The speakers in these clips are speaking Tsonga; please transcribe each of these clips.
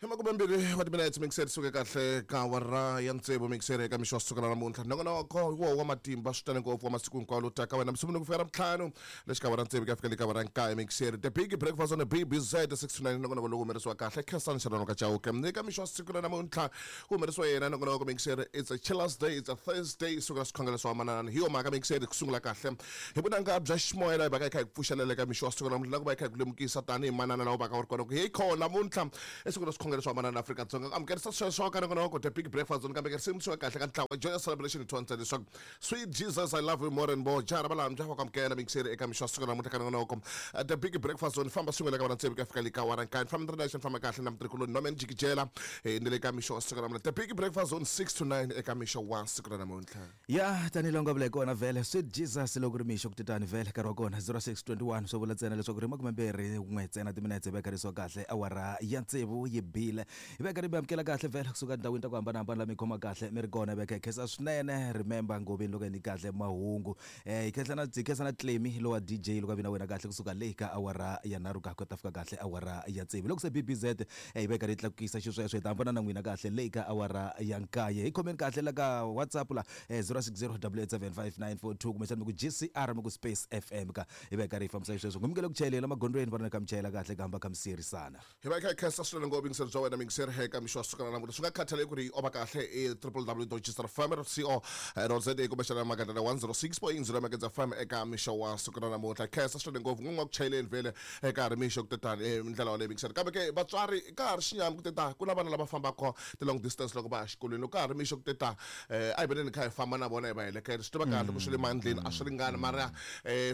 Hi makumembirhi wa timinetse mixer suke kahle ka awara ya tsevu mixer eka mixo wa siku ra namuntlha. Nongonoko hi woho wa matimba swinene ngopfu wa masiku hinkwawo lowu taka wena musunguri ku fika Ravuntlhanu le xikarhi ra tsevu ku ya fika le ka awara ya nkaye mixer. The Big Breakfast on the BBZ 6 to 9 nongonoko lowu humelerisiwa kahle Khensani Xirhano ka Chauke. Eka mixo wa siku ra namuntlha ku humelerisiwa yena nongonoko mixer. It's a chillers day, it's a Thursday, siku ra swikhongelo swa manana. Hi yo mhaka mixer ku sungula kahle hi vunanga bya ximoya laha hi vaka hi kha hi ku pfuxelela eka mixo wa siku ra namuntlha na ku va hi kha hi ku lemukisa tanihi manana laha u vaka u ri kona ku heyi kho namuntlha i siku ra swikhongelo swa manana Afrika-Dzonga. Ku amukerisa sweswo ka nongonoko The Big Breakfast Zone kambe ka risimu swi kahle ka ntlawa Joyous Celebration hi thontsha leswaku Sweet Jesus I love you more and more. Jaha ra Valambya wa ku amukela mixeri eka mixo wa siku ra namuntlha ka nongonoko The Big Breakfast Zone. Famba swin'we le ka vona tsevu ku ya fika le ka awara nkaye. Famba ni ri nexe ni famba kahle na mutirhikuloni Norman Jikijela ni le ka mixo wa siku ra namuntlha The Big Breakfast Zone 6 to 9 eka mixo wa siku ra namuntlha. Ya tanihi laha u nga vula hi kona vhele Sweet Jesus loko ri mixo ku titani vhele nkarhi wa kona 06:21 swo vula ntsena leswaku ri makumembirhi n'we ntsena timinetse hi veka kahle awara ya tsevu yi bile hi veka ri mi amukela kahle vhele kusuka tindhawini ta ku hambanahambana la mi khoma kahle mi ri kona hi veka hi khensa swinene remember ngoveni loko hi ni kahle mahungu eh hi khensa na hi khensa na Clemy lowa DJ loko a vi na wena kahle kusuka le ka awara ya nharhu ka ku ta fika kahle awara ya tsevu loko se BBZ eh, yi veka ri tlakukisa xisweswo hi ta hambana na n'wina kahle le ka awara ya nkaye hi khomeni kahle la ka WhatsApp la eh, 060 875 kumbexana mi ku GCR mi ku space FM ka hi veka ri fambisa xisweswo ngumukele ku chayelela magondzweni va ri na ka mi chayela kahle ka hamba ka mi siyerisana. Hi va hi kha hi khensa swinene ngopfu yingiseri bya wena muyingiseri eka mixo wa siku ra namuntlha. Swi nga khathaleki ku ri yi ova kahle i www.gsrfm.co.za kumbexana magandlana 106.0 Magedzi FM eka mixo wa siku ra namuntlha. Hi khensa swinene ngopfu n'win'we wa ku chayeleni vhele eka ha ri mixo ku te tani hi ndlela yoleyo muyingiseri. Kambe ke vatswari ka ha ri xinyami ku te ta ku na vana lava fambaka ti-long distance loko va ya xikolweni. Loko ka ha ri mixo ku te ta a hi veneni hi kha hi famba na vona hi va heleketa. Swi tiva kahle ku swi le mandleni a swi ringani mara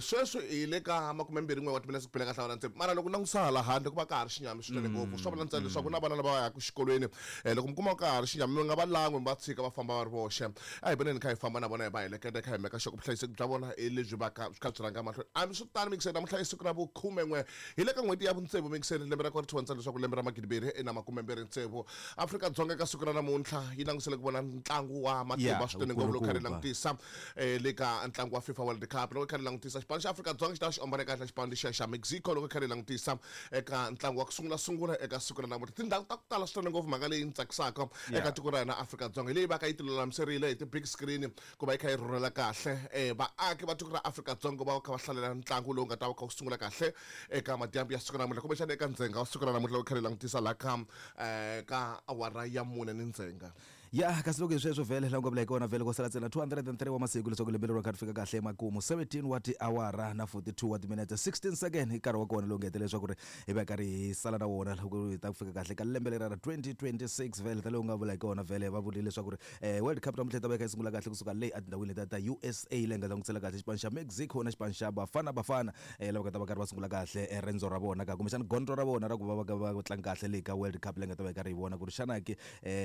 Sweswi hi le ka makumembirhi-n'we wa timinetse ku bile kahle awara tsevu. Mara loko u langutisa hala handle ku va ka ha ri xinyami swinene ngopfu. Swa vula ntsena leswaku ku na vana lava va yaka exikolweni. Loko mi kuma ka ha ri xinyami mi nga va lan'wi mi va tshika va famba va ri voxe. A hi voneni hi kha hi famba na vona hi va heleketa hi kha hi meka sure ku vuhlayiseki bya vona hi lebyi va ka byi kha byi rhanga mahlweni. Hambiswiritano mixeni namuntlha i siku ra vukhume-n'we hi le ka n'hweti ya vutsevu mixeni lembe ra kona ri thyiwa ntsena leswaku lembe ra magidimbirhi na makumembirhi tsevu. Afrika-Dzonga eka siku ra namuntlha yi langutisele ku vona ntlangu wa matimba swinene ngopfu loko kha ri langutisa le ka ntlangu wa FIFA World Cup. Loko hi kha ri langutisa xipano xa Afrika-Dzonga xi ta va xi ombane kahle xipano lexiya xa Mexico loko hi kha ri langutisa eka ntlangu wa ku sungula sungula eka siku ra namuntlha. Tindhawu ta ku tala swinene ngopfu mhaka leyi ni tsakisaka eka tiko ra hina Afrika-Dzonga hi leyi va ka yi tilulamiserile hi ti-big screen ku va yi kha yi rhurhela kahle vaaki va tiko ra Afrika-Dzonga va kha va hlalela ntlangu lowu nga ta va kha wu sungula kahle eka madyambu ya siku ra namuntlha kumbexana eka ndzhenga wa siku ra namuntlha loko hi kha hi langutisa laha ka ka awara ya mune ni ndzhenga. Ya kasi loko hi sweswo vhele laha u nga vula hi kona vhele ko sala ntsena 203 wa masiku leswaku lembe leri kha ri fika kahle emakumu 17 wa tiawara na 42 wa timinete 16 second hi nkarhi wa kona lowu ngetele leswaku ri hi va karhi hi sala na wona loko hi ta ku fika kahle ka lembe leri ra 2026 vhele ta leyi u nga vula hi kona vhele va vurile leswaku ri World Cup namuntlha yi ta va yi kha yi sungula kahle kusuka le etindhawini letiya ta USA leyi nga langutisela kahle xipano xa Mexico na xipano xa Bafana Bafana lava nga ta va karhi va sungula kahle rendzo ra vona ka kumbexana gondzo ra vona ra ku va va va tlanga kahle le ka World Cup leyi nga ta va yi karhi yi vona ku ri xana ke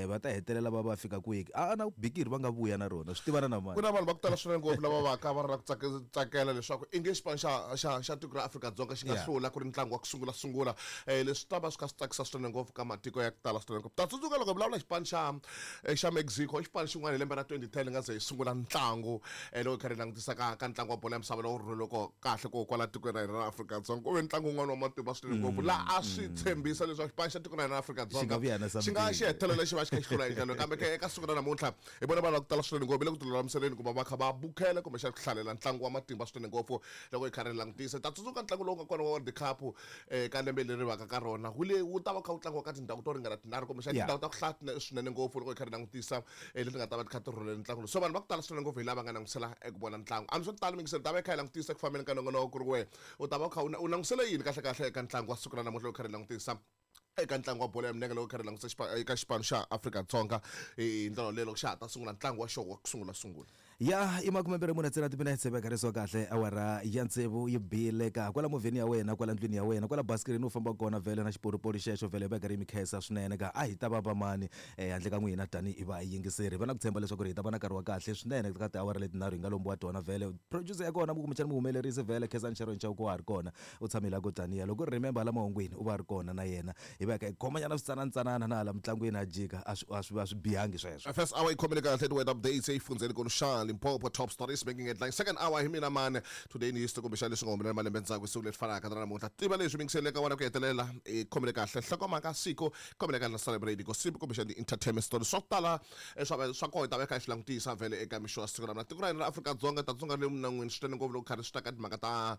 va ta hetelela va va fika kwihi a na bikiri va nga vuya na rona swi tivana na mani Ku na vanhu va ku tala swinene ngopfu lava va ka va ri na ku tsakela leswaku i nge xipano xa xa xa tiko ra Afrika-Dzonga xi nga hlula ku ri ntlangu wa ku sungula sungula leswi ta va swi kha swi tsakisa swinene ngopfu ka matiko ya ku tala swinene ngopfu. Ta tsundzuka loko hi vulavula hi xipano xa xa Mexico i xipano xin'wana hi lembe ra 2010 nga ze hi sungula ntlangu loko hi kha hi langutisa ka ka ntlangu wa bolo ya misava lowu rhuleleke kahle ko kwala tikweni ra hina ra Afrika-Dzonga ku ve ntlangu wun'wana wa matimba swinene ngopfu laha a swi tshembisa leswaku xipano xa tiko ra hina ra Afrika-Dzonga xi nga xi hetelela xi va xi kha xi hlula hi ndlela kambe ke eka siku ra namuntlha hi vona vanhu va ku tala swinene ngopfu le ku tilulamiseleni ku va va kha va bukhela kumbexana ku hlalela ntlangu wa matimba swinene ngopfu loko hi kha ri langutisa ta tsundzuka ntlangu lowu nga kona wa World Cup ka lembe leri vaka ka rona wu le wu ta va kha wu tlangiwa ka tindhawu to ringana tinharhu kumbexana tindhawu ta ku hlaya swinene ngopfu loko hi kha ri langutisa leti nga ta va ti kha ti rhulele ntlangu lowu so vanhu va ku tala swinene ngopfu hi lava nga langutisela eku vona ntlangu hambi swo tala mingiselo ta va yi kha yi langutisa ku fambeni ka nongonoko ku ri wehe u ta va u kha u langutisele yini kahle kahle eka ntlangu wa siku ra namuntlha loko kha ri langutisa eka ntlangu wa bolo ya milenge loko kha ri langutisa eka xipano xa Afrika-Dzonga hi ndlela leyi loko xa ha ta sungula ntlangu wa xona wa ku sungula sungula. Ya i makumembirhi mune ntsena timinetse veka kahle awara ya tsevu yi bile ka kwala movheni ya wena kwala ndlwini ya wena kwala basikilini u fambaka kona vhele na xipolipoli xexo vhele veka ri mi khensa swinene ka a hi ta va vamani handle ka n'wina tanihi vayingiseri hi va na ku tshemba leswaku ri hi ta va na nkarhi wa kahle swinene ka tiawara letinharhu hi nga lombiwa tona vhele producer ya kona kumbexana muhumelerisi vhele Khensani Sharon Chauke wa ha ri kona u tshame la ko taniya loko ri remember hala mahungwini u va a ri kona na yena hi va hi kha hi khomanyana switsananatsanana na hala mitlangwini a jika a swi a swi a swi bihangi sweswo. First hour yi khomile kahle ti-weather updates exifundzheni nkulu xana. na Limpopo. Top stories making headline second hour hi mina mani today ni history kumbexana leswi nga humelela malembe ndzhaku siku leri fanaka na namuntlha. Tiva leswi mingisele ka wena ku hetelela i khomele kahle nhlokomhaka siku khomele kahle na celebrate gossip kumbexana ti-entertainment stories swa ku tala swa kona hi ta va kha hi swi langutisa vhele eka mixo wa siku ra tiko ra hina ra Afrika-Dzonga ta tsonga le minan'wini swinene ngopfu loko karhi swi ta ka timhaka ta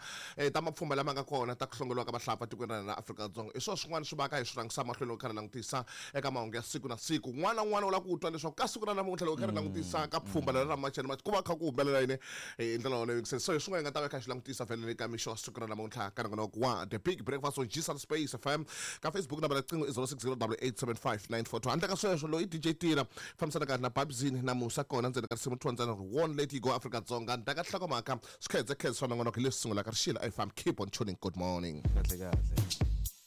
ta mapfhumba lama nga kona ta ku hlongoriwa ka vahlapfa tikweni ra hina ra Afrika-Dzonga. I swona swin'wana swi va ka hi swi rhangisa mahlweni loko karhi langutisa eka mahungu ya siku na siku. Un'wana na un'wana u lava ku twa leswaku ka siku ra namuntlha loko karhi langutisa ka pfhumba leri ra March and March ku va kha ku humelela yini hi ndlela yoleyo. So hi swin'wana hi nga ta va kha hi swi langutisa vhele le ka mixo wa siku ra namuntlha ka nongonoko wa The Big Breakfast on Gsal Space FM. Ka Facebook nambara ya riqingho i 0608875942. Handle ka sweswo loyi i DJ Tira fambisana kahle na Babzini na Musa kona ndzeni ka risimu 2 ntsena won't let you go Afrika-Dzonga. Ndaka nhlokomhaka swikhedzekhedze swa nongonoko hi leswi sungulaka rixile FM. Keep on tuning. Good morning. Kahle kahle.